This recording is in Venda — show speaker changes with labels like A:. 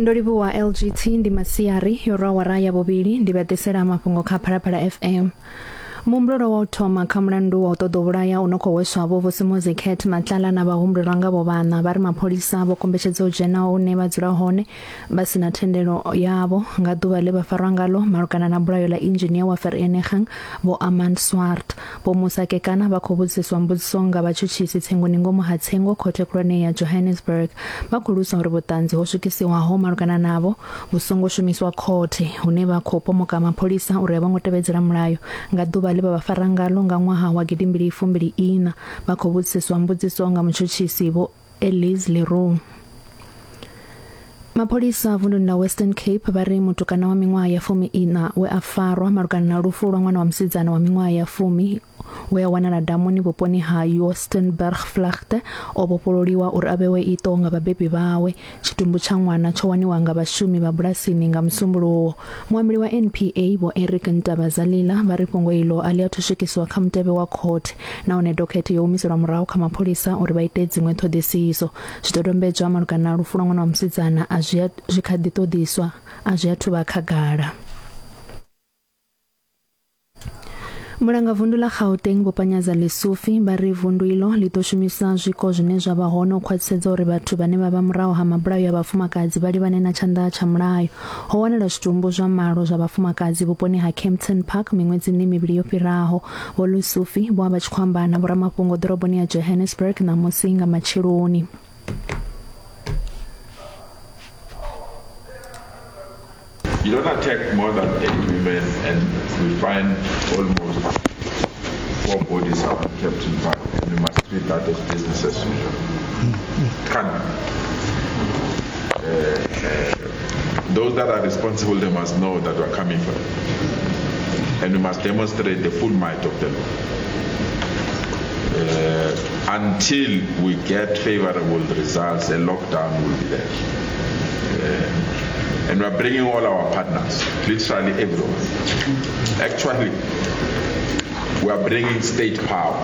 A: Ndo livhuwa LGT ndi masiari yo rwa awara ya vhuvhili ndi vha ḓisela mafhungo kha Phalaphala FM. Muhumbulelwa wa u thoma kha mulandu wa u ṱoḓa u vhulaya u no khou hweswa Vho Vusimuzi Cat Matlala na vhahumbulelwa ngavho vhaṋa vha ri mapholisa vho kombetshedza u dzhena hune vha dzula hone vha si na thendelo yavho nga ḓuvha ḽe vha farwa ngalo malugana na bulayo ḽa inzhinia wa Vereeniging Vho Armand Swart. Vho Musa Kekana vha khou vhudziswa mbudziso nga vhatshutshisi tsengoni ngomu ha tsengo khothe khulwane ya Johannesburg. Vha khou lusa uri vhuṱanzi ho swikisiwaho malugana navho vhu songo shumiswa khothe hune vha khou pomoka mapholisa uri a vho ngo tevhedzela mulayo nga ḓuvha ḽe vha vha fara ngalo nga ṅwaha wa gidimbili fumbili iṋa. Vha khou vhudziswa mbudziso nga mutshutshisi Vho Elise Leroux. Mapholisa vunduni ḽa Western Cape vha ri mutukana wa miṅwaha ya fumi iṋa we a farwa malugana na lufu lwa ṅwana wa musidzana wa miṅwaha ya fumi we a wanala damuni vhuponi ha Joostenbergvlakte o vhofhololiwa uri a vhewe iṱo nga vhabebi vhawe. Tshitumbu tsha ṅwana tsho waniwa nga vhashumi vha bulasini nga Musumbuluwo. Muambeli wa NPA Vho Eric Ntabazalila vha ri fhungo iḽo a ḽi athu swikiswa kha mutevhe wa khothe nahone dokhethe yo humiselwa murahu kha mapholisa uri vha ite dziṅwe ṱhoḓisiso. Zwidodombedzwa malugana na lufu lwa ṅwana wa musidzana a zwi zwi kha ḓi ṱoḓiswa a zwi athu vha khagala. Mulangavundu ḽa Gauteng Vho Panyaza Lesufi vha ri vundu iḽo ḽi ḓo shumisa zwiko zwine zwa vha hone u khwaṱhisedza uri vhathu vhane vha vha murahu ha mabulayo a vhafumakadzi vha livhane na tshanḓa tsha mulayo. Ho wanala zwitumbu zwa malo zwa vhafumakadzi vhuponi ha Kempton Park miṅwedzini mivhili yo fhiraho. Vho Lesufi vho vha vha tshi khou amba na vhoramafhungo ḓoroboni ya Johannesburg ṋamusi nga matsheloni.
B: You don't attack more than eight women and we find almost four bodies out in Kempton Park and we must treat that as business as usual. Can't. Those that are responsible, they must know that we're coming for them. And we must demonstrate the full might of the law. Until we get favorable results, a lockdown will be there. And we're bringing all our partners, literally everyone. Actually, we are bringing state power.